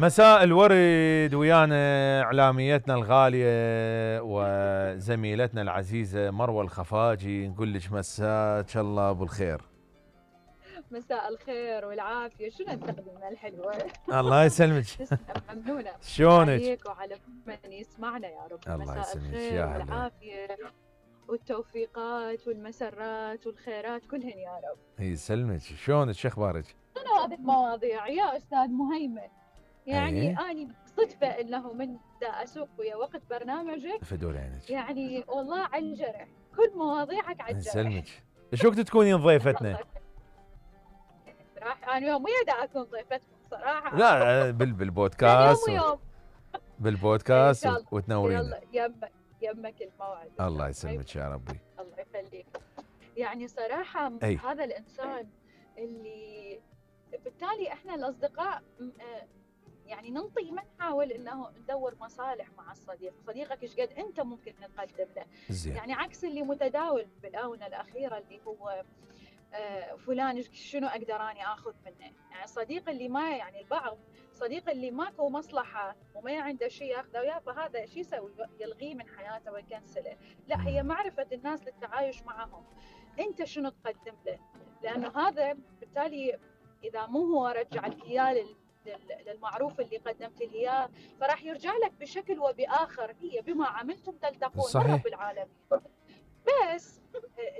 مساء الورد ويانا اعلاميتنا الغاليه وزميلتنا العزيزه مروه الخفاجي، نقول لك مساك الله بالخير. مساء الخير والعافيه، شنو التقديمه الحلوه. الله يسلمك. تسلم ممنونه. شلونك؟ عليك وعلى من يسمعنا يا رب. الله مساء يسلمك الخير يا هلا. والعافيه والتوفيقات والمسرات والخيرات كلهن يا رب. يسلمك. شلونك؟ شو اخبارك؟ شنو هذه المواضيع يا استاذ مهيمن؟ يعني أيه؟ اني صدفه انه من دا اسوق ويا وقت برنامجك فدول عينك. يعني والله على الجرح، كل مواضيعك على الجرح. يسلمك. شو وقت تكونين ضيفتنا؟ صراحه انا يوم ويا دا اكون ضيفتكم صراحه. لا بالبودكاست. يوم ويوم بالبودكاست وتنورينا. يلا يمك الموعد. الله يسلمك يا ربي. الله يخليك. يعني صراحة أي. هذا الإنسان اللي بالتالي إحنا الأصدقاء يعني ننطي ما نحاول إنه ندور مصالح مع الصديق، صديقك إيش قد أنت ممكن تقدم له. زين. يعني عكس اللي متداول بالآونة الأخيرة اللي هو فلان شنو أقدر أني آخذ منه. يعني الصديق اللي ما يعني البعض صديق اللي ماكو مصلحة وما عنده شيء ياخذه وياه، فهذا شو يسوي؟ يلغيه من حياته ويكنسله. لا، هي معرفة الناس للتعايش معهم. أنت شنو تقدم له؟ لأنه هذا بالتالي إذا مو هو رجع لك إياه للمعروف اللي قدمت له إياه، فراح يرجع لك بشكل وبآخر. هي بما عملتم تلتقون. صحيح. رب العالمين. بس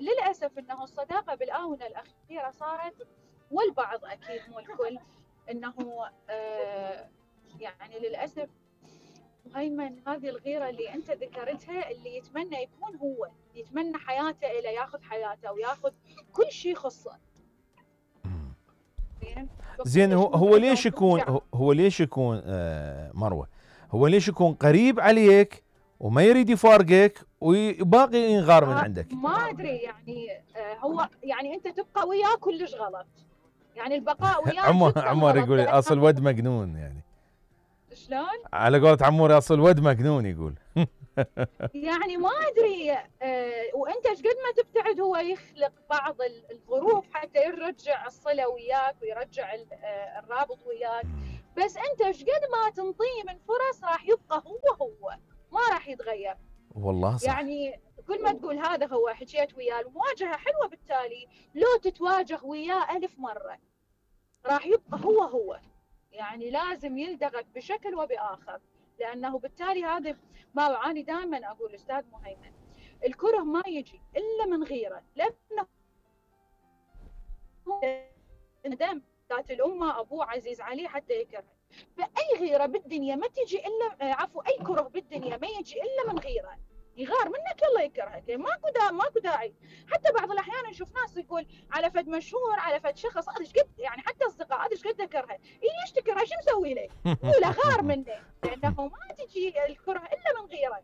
للأسف أنه الصداقة بالآونة الأخيرة صارت، والبعض أكيد مو الكل، أنه يعني للأسف مهيمن هذه الغيرة اللي أنت ذكرتها، اللي يتمنى يكون هو، يتمنى حياته إلى ياخذ حياته وياخذ كل شيء يخصه. زين. هو ليش يكون مروة، هو ليش يكون قريب عليك وما يريد يفارقك وباقي ينغار من عندك؟ ما ادري يعني هو يعني انت تبقى وياه كلش غلط. يعني البقاء وياه عمر يقول اصل ود مجنون. يعني شلون؟ على قولة عمور اصل ود مجنون يقول. يعني ما ادري وانت ايش قد ما تبتعد هو يخلق بعض الظروف حتى يرجع الصله وياك ويرجع الرابط وياك. بس انت ايش قد ما تنطيه من فرص راح يبقى هو ما راح يتغير. والله صح. يعني كل ما تقول هذا هو حكيت وياه، المواجهه حلوه، بالتالي لو تتواجه وياه 1000 مره راح يبقى هو. يعني لازم يلدغك بشكل وبآخر، لأنه بالتالي هذا ما أنا دائما أقول أستاذ مهيمن، الكره ما يجي إلا من غيرة، لأنه دم ذات الأمة أبوه عزيز عليه حتى يكره. فأي غيرة بالدنيا ما تجي إلا أي كره بالدنيا ما يجي إلا من غيرة. يغار منك يلا يكرهك، ماكو داعي. حتى بعض الاحيان نشوف ناس يقول على فد مشهور، على فد شخص، هذا ايش قد يعني حتى اصدقاء هذا ايش قد اكرهه، ليش تكرهه؟ شو مسوي له؟ قول غار منه، لانه ما تجي الكره الا من غيره.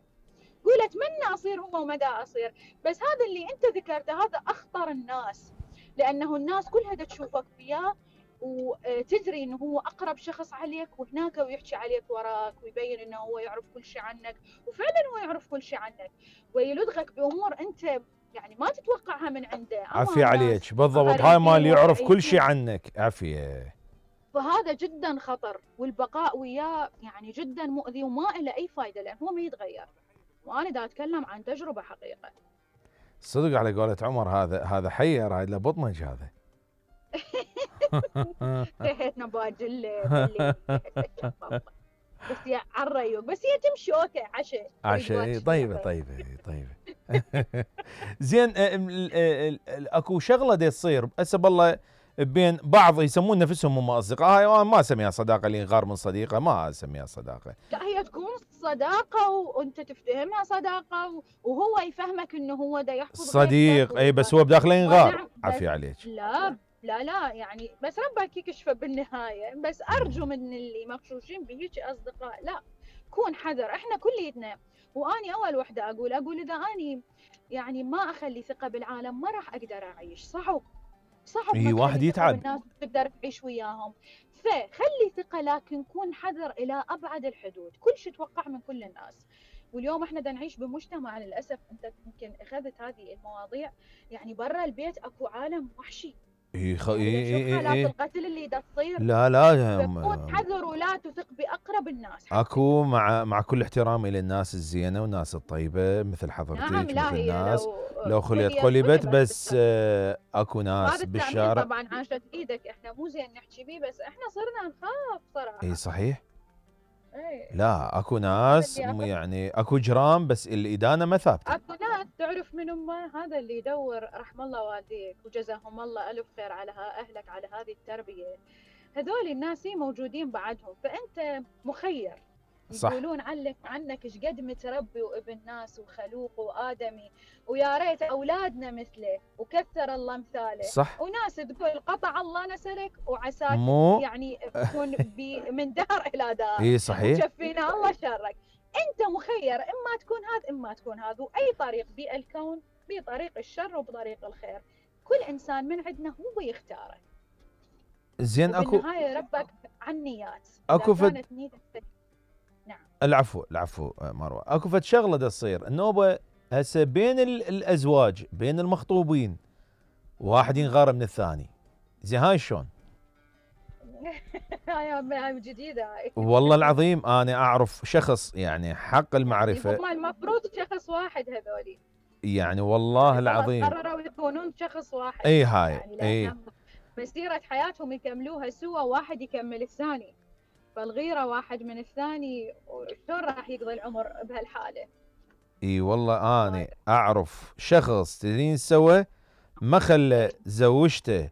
قول اتمنى اصير هو ومدى اصير. بس هذا اللي انت ذكرته هذا اخطر الناس، لانه الناس كلها تشوفك وياه وتدري انه هو اقرب شخص عليك وهناك ويحكي عليك وراك ويبين انه هو يعرف كل شيء عنك، وفعلا هو يعرف كل شيء عنك ويلدغك بامور انت يعني ما تتوقعها من عنده. عافية عليك. بالضبط، هاي مال يعرف كل شيء عنك. عافية. فهذا جدا خطر، والبقاء وياه يعني جدا مؤذي وما له اي فائده، لان هو ما يتغير. وانا دا اتكلم عن تجربه حقيقه. صدق على قولة عمر، هذا حير، هاي له بطمج هذا. ريحتنا باجل بس يا عالريوق، بس هي تمشي اوكي عشاء طيبه. زين. اكو شغله دي تصير هسه بالله بين بعض يسمون نفسهم هم اصدقاء. هاي ما اسميها صداقه، اللي ينغار من صديقه ما اسميها صداقه. لا، هي تكون صداقه وانت تفتهمها صداقه وهو يفهمك انه هو دا يحفظ صديق. اي بس هو بداخله ينغار. عافية عليك. لا يعني بس ربك يكشفه بالنهايه. بس ارجو من اللي مغشوشين بهيك اصدقاء لا، كون حذر. احنا كليتنا، واني اول وحده اقول اذا اني يعني ما اخلي ثقه بالعالم ما راح اقدر اعيش. صعب اي واحد يتعب. الناس تقدر تعيش وياهم. فخلي ثقه، لكن كون حذر الى ابعد الحدود. كل شيء توقع من كل الناس. واليوم احنا دا نعيش بمجتمع للاسف، انت يمكن اخذت هذه المواضيع، يعني برا البيت اكو عالم وحشي، يعني شوف حالات القتل اللي دا تصير. لا فكون حذر ولا تثق باقرب الناس. اكو مع كل احترامي للناس الزينه والناس الطيبه مثل حضرتك نعم، لا مثل هي الناس لو خليت خليت قلبت، قلبت بس اكو ناس هذا التأمين بالشارع. طبعا عاشت ايدك، احنا مو زين نحكي بيه، بس احنا صرنا نخاف صراحه. اي صحيح. اي لا اكو ناس يعني اكو جرام بس الادانه ما ثابته. اكو ناس تعرف من هذا اللي يدور، رحم الله والديك وجزاهم الله الف خير على اهلك على هذه التربيه. هذول الناس موجودين بعدهم، فانت مخير. صح. يقولون عنك ايش قد متربي وابن ناس وخلوق وادمي، ويا ريت اولادنا مثله وكثر الله مثاله. صح. وناس تقول قطع الله نسلك وعساك مو يعني تكون من دهر الى دهر. اي صحيح. وشفينا الله شرك. انت مخير، اما تكون هذا اما تكون هذا، واي طريق بالكون بطريق الشر وبطريق الخير. كل انسان من عندنا هو يختاره. زين اكو بالنهايه ربك عن نيات. اكو كانت نيتك. نعم. العفو مروه. اكو فد شغله دا تصير النوبه هسه بين الازواج، بين المخطوبين، واحد ينغار من الثاني. زين هاي شلون؟ هاي جديده هاي. والله العظيم انا اعرف شخص يعني حق المعرفه. هم المفروض شخص واحد هذولي. يعني والله العظيم قرروا يكونون شخص واحد. اي هاي يعني اي مسيره حياتهم يكملوها سوا، واحد يكمل الثاني. فالغيره واحد من الثاني، شلون راح يقضي العمر بهالحاله؟ اي والله انا اعرف شخص تدرين سوى ما خلى زوجته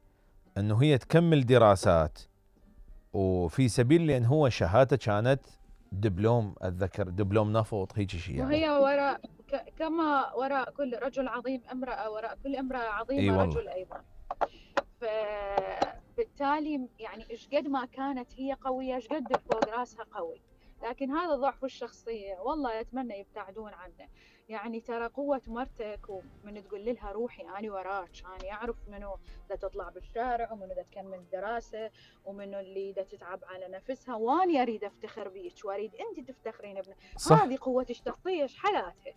انه هي تكمل دراسات، وفي سبيل لان هو شهادته كانت دبلوم، اتذكر دبلوم نفط هيك شيء يعني. وهي وراء كما وراء كل رجل عظيم امرأة، وراء كل امرأة عظيمة رجل ايضا. فبالتالي يعني ايش قد ما كانت هي قوية، ايش قد فوق راسها قوي. لكن هذا ضعف الشخصية، والله اتمنى يبتعدون عنه. يعني ترى قوة مرتك ومن تقول لها روحي أنا وراك، أنا أعرف منو دا تطلع بالشارع ومنو دا تكمل دراسة ومنو اللي دا تتعب على نفسها، وأنا أريد أفتخر بيك وأريد أنت تفتخرين بنا. هذه قوة الشخصية، إيش حالاتها؟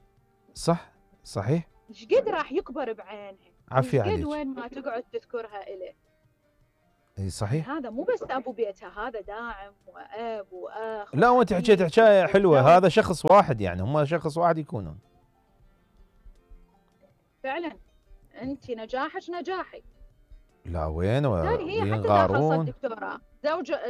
صح صحيح. إيش قد راح يكبر بعينها، عافية عليك. إيش قد وين ما تقعد تذكرها إليه. اي صحيح. هذا مو بس ابو بيتها، هذا داعم واب واخ. لا وانت حكيت حكايه حلوه، هذا شخص واحد يعني هم شخص واحد يكونون. فعلا انت نجاحك نجاحي. لا وين هي حتى داخل دكتوراه.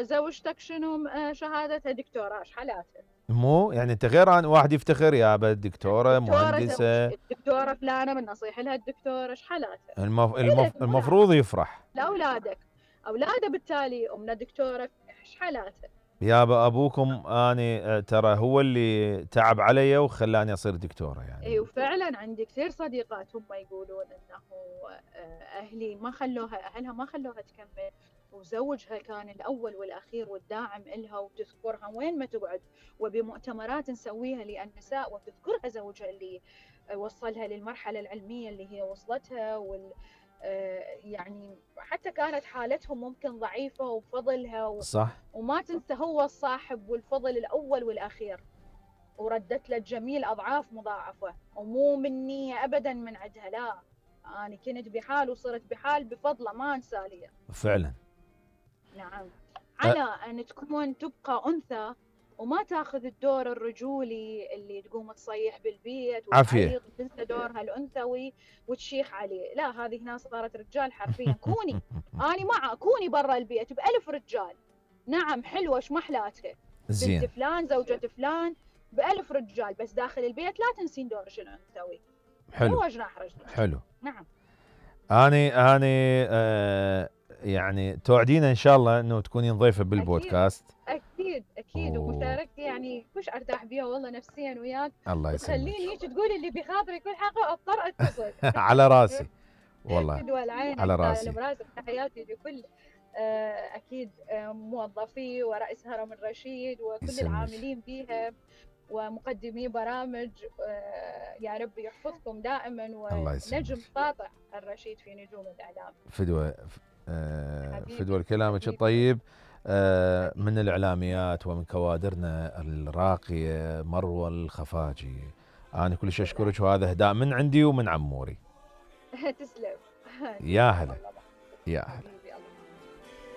زوجتك شنو شهادتها دكتوراه، ايش حالاتها؟ مو يعني انت غير عن واحد يفتخر يا دكتوره مهندسه، دكتوره فلانه من نصيحه لها الدكتوره، ايش حالاتها؟ المفروض يفرح لاولادك. اولاده بالتالي امنا دكتوره، ايش حالاتها؟ يابا ابوكم اني ترى هو اللي تعب علي وخلاني اصير دكتوره يعني. اي وفعلا عندي كثير صديقات هم يقولون انه اهلها ما خلوها تكمل، وزوجها كان الاول والاخير والداعم الها، وتذكرها وين ما تقعد، وبمؤتمرات نسويها للنساء وتذكرها زوجها اللي وصلها للمرحله العلميه اللي هي وصلتها، يعني حتى كانت حالتهم ممكن ضعيفة وبفضلها صح. وما تنسى هو الصاحب والفضل الأول والأخير، وردت له الجميل أضعاف مضاعفة، ومو مني أبدا من عندها، لا أنا كنت بحال وصرت بحال بفضله، ما أنسى لي. فعلا. نعم. على أن تبقى أنثى وما تاخذ الدور الرجولي اللي تقوم تصيح بالبيت وتعيق، تنسى دورها الانثوي وتشيخ عليه. لا، هذه هنا صارت رجال حرفيا. كوني اني معه، كوني برا البيت ب1000 رجال. نعم حلوه، ايش محلاتها بنت فلان زوجة فلان ب1000 رجال، بس داخل البيت لا تنسين دورك الانثوي. حلو. هو جناح رجلك. حلو. نعم. اني يعني توعدينا ان شاء الله انه تكونين ضيفه بالبودكاست. اكيد ومشاركتي يعني كلش ارتاح بيها والله نفسيا وياك. الله يسلمك. خليني هيك تقول اللي بخاطري كل حلقه اضطر اتصل. على راسي والله. على راسي. براسك. تحياتي لكل اكيد موظفي ورئيس هرم الرشيد وكل العاملين بيها ومقدمي برامج. يا رب يحفظكم دائما، ونجم ساطع الرشيد في نجوم الاعلام. فدوى كلامك الطيب. من الإعلاميات ومن كوادرنا الراقية مروة الخفاجي. أنا كلش أشكرك، وهذا هداء من عندي ومن عموري. تسلم. يا هلا يا هلا.